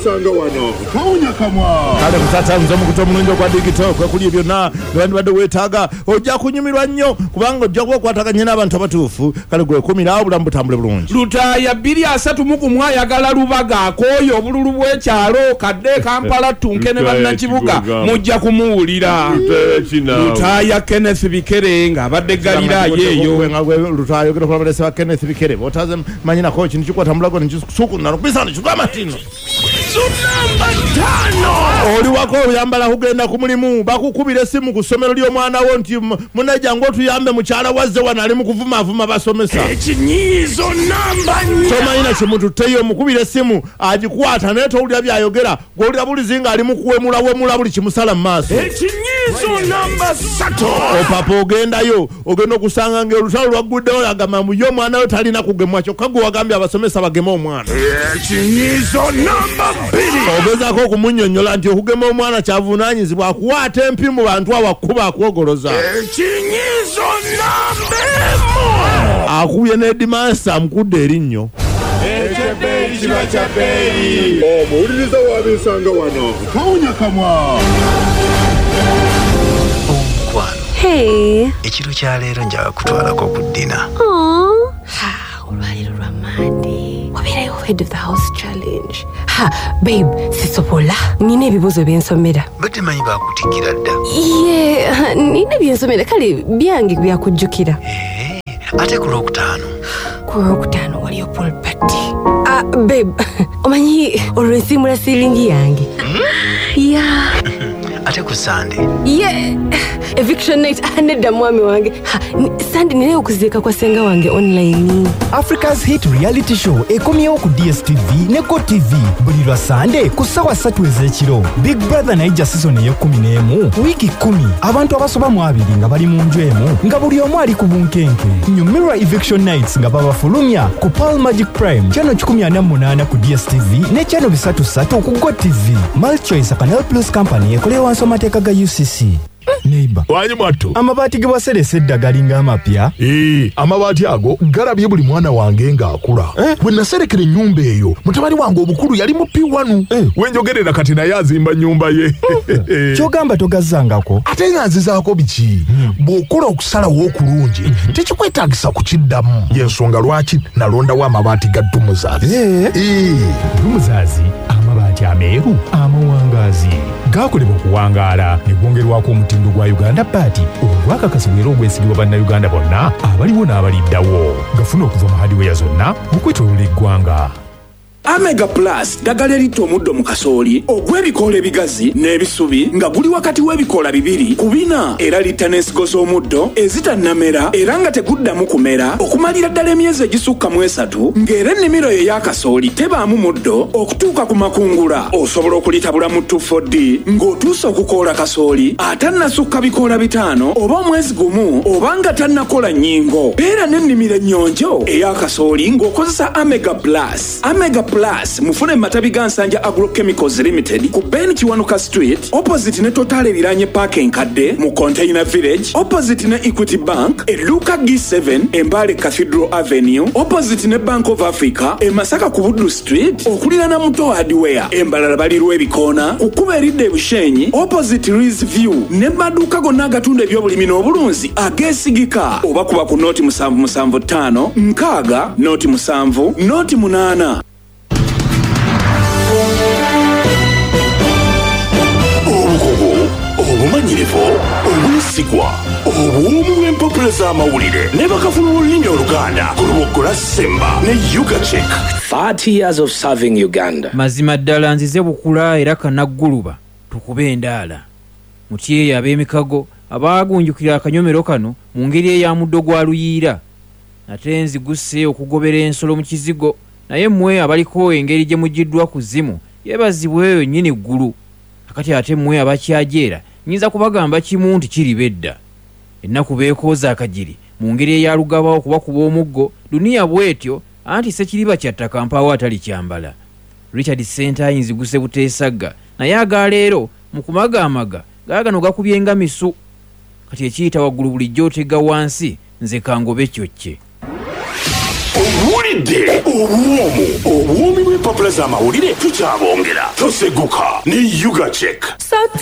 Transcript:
wabensanga wano tawunya kamwa. Kale kusatanze omukutu omulungi ogwa digito kwekuli byonna byewandibadde weetaaga, ojja kunyumirwa nnyo kubanga ojja kuba okwataganye n'abantu abatuufu. Kale gwekumira obulamu butambule bulungi. Lutaaya 231 ayagala Lubaga akooye obululu bw'ekyalo kadde Kampala ttunke ne bannakibuga mujja kumuwulira. Lutaaya Kenneth Bikere ng'abadde Galiraaya eyo. Lutaaya ogenda kulaba lesa Kenneth Bikere bw'otaze manyi nako kintu kikwata mulago nekisuku nalokubisa nekigamba tino. Namba 5. Oli wako oyambala kugenda ku mulimu, bakukubira essimu ku ssomero ly'omwana wo nti munajja ng'otuyambe mukyala wazze wano ali mu kuvumaavuma basomesa. Ekinyiizo namba 4. Tomanyi na kimututteyo, omukubira essimu agikwata naye towulira by'ayogera, gw'owulira bulizi ng'ali mu kuwemulawemula buli kimusala mu maaso. Ekinyiizo namba 3. Opapa ogendayo ogenda okusanga ng'olutalo lwagguddewo agamba mbu ye omwana we talina kugemwa, kyokka gwe wagambye abasomesa bageme omwana. Ekinyiizo namba 2. Ogezaako okumunnyonnyola nti okugema omwana kyavunaanyizibwa, akuwaata empi mu bantu awo akuba akuwogoloza. Ekinyiizo namba 1. Akubye ne Headmaster amukudde erinnyo. Ekyebbeeyi kiba kya bbeeyi. Omuwuliriza wabensanga wano tawunya kamwa. Omukwano. Hey. Ekiro kya leero njagala kutwalako ku ddina. Ha, olwaleero lwa Monday. Wabeerayo head of the house challenge. Ha, babe, sisobola. Nina ebibuuzo byensomera. Badde manyi baakutikkira dda. Ye, nina byensomera kale byange byakujjukira. Ate ku Lwokutaano? Ku Lwokutaano waliyo pool party. Babe, omanyi olwo nsiimula siiringi yange. Yeah. Ate ku Sunday? Yeah. Eviction night nedda mwami wange. Sunday ninayo okuziika kwa ssenga wange online. Africa's Hit Reality Show ekomyewo ku DSTV ne GoTV buli lwa Sunday ku ssaawa 3 ez'ekiro. Big Brother Naija season ey'ekkumi n'emu, wiiki 10, abantu abasoba mu 20 nga bali mu nju emu nga buli omu ali ku bunkenke. Nyumirwa Eviction Nights nga babafulumya ku Pearl Magic Prime channel 148 ku DSTV ne channel 33 ku GoTV. MultiChoice Canal Plus Company ekolera wansi w'amateeka ga UCC. Neighbor. Wanyi mwattu. Amabaati ge waseresa edda galinga amapya. Amabaati ago galabye buli mwana wange ng'akula. Bwe naserekera ennyumba eyo, mutabani wange omukulu yali mu P1. Wenjogerera kati naye azimba nnyumba ye. Ky'ogamba togazzangako? Ate nga nzizaako biki? Bw'okola okusalawo okulungi, tekikwetaagisa kukiddamu. Y'ensonga lwaki nalondawo amabaati ga Dumuzazi. Dumuzazi, amabaati ameeru amawangaazi gakolebwa okuwangaala ne gwongerwako omutindo gwa Uganda Baati ogwakakasibwa era ogwesigibwa bannayuganda bonna abaliwo n'abaliddawo. Gafuna okuva mu hardware zonna okwetooloola eggwanga. Amega Plus ddagala eritta omuddo mu kasooli ogw'ebikoola ebigazi n'ebisubi nga guli wakati w'ebikoola 2 ku 4, era litta n'ensigo z'omuddo ezitannamera era nga teguddamu kumera okumalira ddala emyezi egisukka mu 3, ng'era ennimiro yo ey'akasooli tebaamu muddo okutuuka ku makungula. Osobola okulitabula mu 2,4-D ng'otuuse okukoola kasooli atannasukka bikoola 5 oba omwezi 1 oba nga tannakola nnyingo. Beera n'ennimiro ennyonjo ey'akasooli ng'okozesa Amega Plus. Amega Plus mufune matabi ga Nsanja Agrochemicals Limited ku Ben Kiwanuka Street opposite ne Total eriraanye Park enkadde mu Container Village opposite ne Equity Bank edduuka G7 Embale Cathedral Avenue opposite ne Bank of Africa e Masaka ku Buddu Street okuliraana Muto Hardware. Embalala balirwa ebikoona ku kkubo eridda e Bushenyi opposite Riz View ne maduuka gonna agatunda ebyobulimi n'obulunzi ageesigika oba kuba ku noti 775 6 noti 7 noti 8. Obukugu, obumanyirivu, obwesigwa, obuwoomu bw'empapula z'amawulire ne bakafulu b'olulimi Oluganda ku Luboggola Semba ne Ugachek. 30 years of serving Uganda. Mazima ddala nzize bukula era kanagguluba tukube endaala. Mutyeyo ab'emikago abaagunjukira akanyomero kano mu ngeri eya muddo gwa luyiira. Ate nziguse okugobera ensolo mu kizigo, naye mmwe abaliko engeri gye mugiddwa ku zimu yeebazibwe eyo nnyini ggulu. Akati ate mmwe abakyajeera nnyinza kubagamba kimu nti kiriba edda. Ennaku beekooza akagiri mu ngeri eya Lugaba okubakuba omuggo, duniya bw'etyo anti ssekiriba kya ttaka mpaawo atali kyambala. Richard Ssentayi nziguse buteesagga, naye agaleero mu kumagaamaga gaagano gakubye nga misu. Kati ekiyita waggulu bulijjo otega wansi, nze kangobe kyokke. Owulidde obuwoomu, obuwoomi bw'empapula. N'empapula z'amawulire tukyabongera. Toseguka ne Ugachek. Salt.